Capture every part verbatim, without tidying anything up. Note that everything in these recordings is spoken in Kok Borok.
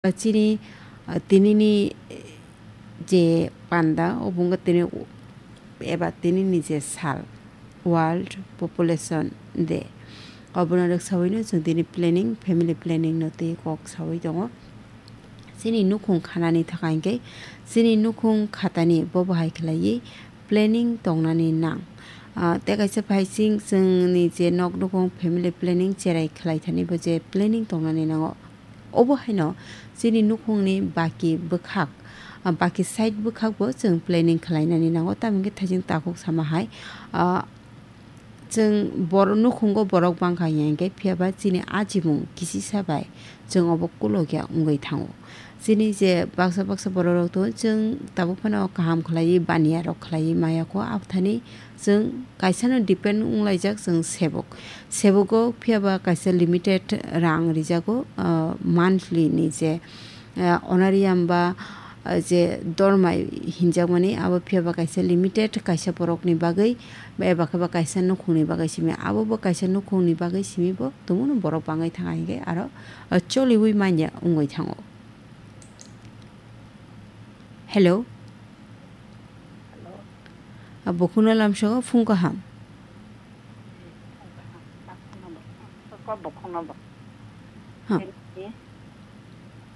Chini, ah, tinini, eh, je panda, obo wngkha tini eba tinini je sal, World Population Day. Obono rwksawi no chwng tini planning, family planning no twi kok sawi tongo. Chini nukhung khanani thaka hinkhe chini nukhung khatani bobo hai khlaiwi planning tongnani nang. Ah, tei kaisa phaising chwngni je nok nukhung family planning cherai khlai thani bo je planning tongnani nango. Obo haino chini nukhungni baki bwkhak, ah, baki side bwkhakbo chwng planning khlainani nango, tamni hwnkhe thaising takhuk sama hai, ah, chwng bor-, nukhungo borok bangkha hiya hinkhe, phiyaba chini ajimung kisisa bai chwng obo kolokya wngwi thango. Chini je baksa baksa borok rok tongo, chwng tabuk phano kaham khlaiwi baniya rok khlaiwi maya kho, aphani chwng kaisano depend wnglaijak chwng sebuk. Sebugo phiyaba kaisa limited rang rijago, ah, monthly ni je, ah, honorarium ba, ah, je dormai hinjakmani abo phiyaba kaisa limited kaisa borokni bagwi eba khe ba kaisa nukhungni bagwi simi. Abo bo kaisa nukhungni bagwi simi bo tongmano borok bangwi thang hinkhe aro, ah, choliwi manya wngwi thango. Hello. Hello. Ah, bukhukno lamsao phung kaham. Bukhukno bo. Ha. Ini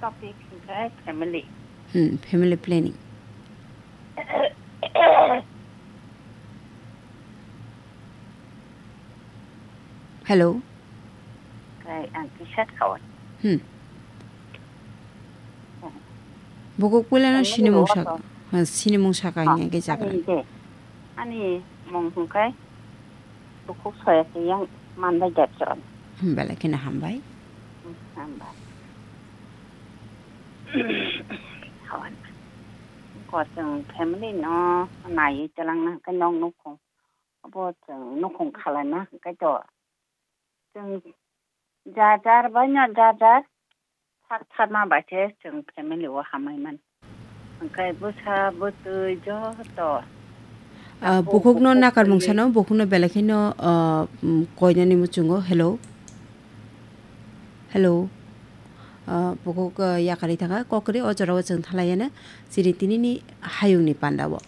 topic hingkhe family. Hmm, family planning. Hello. Kai ang kisa khawan. Hmm. Bukhuk puilano sinimung sak, ha, sinimung saka hingya khe jagra. Ani mung hingkai bukhuk soya khe yang mandai jat chon. Hmm, belai kheno hambai. Hmm, hambai. Khawan. Ko chwng family no naiwi chalangna hingkai nok nukhung. Abo chwng nukhung khalaina hingkai to. Chwng jar jar bai no jar jar sak sakma bai khe chwng family o hamai mano. Hwnkhe bwsa bwtwi joto. Ah, bukhukno nakar mung sano, bukhukno belai kheno, ah, mm, koinani muchungo. Hello. Hello. Ah, bukhuk, ah, yakarwi thangkha, kok kwrwi o jorao chwng thalaiya na, chini tinini hayungni pandao.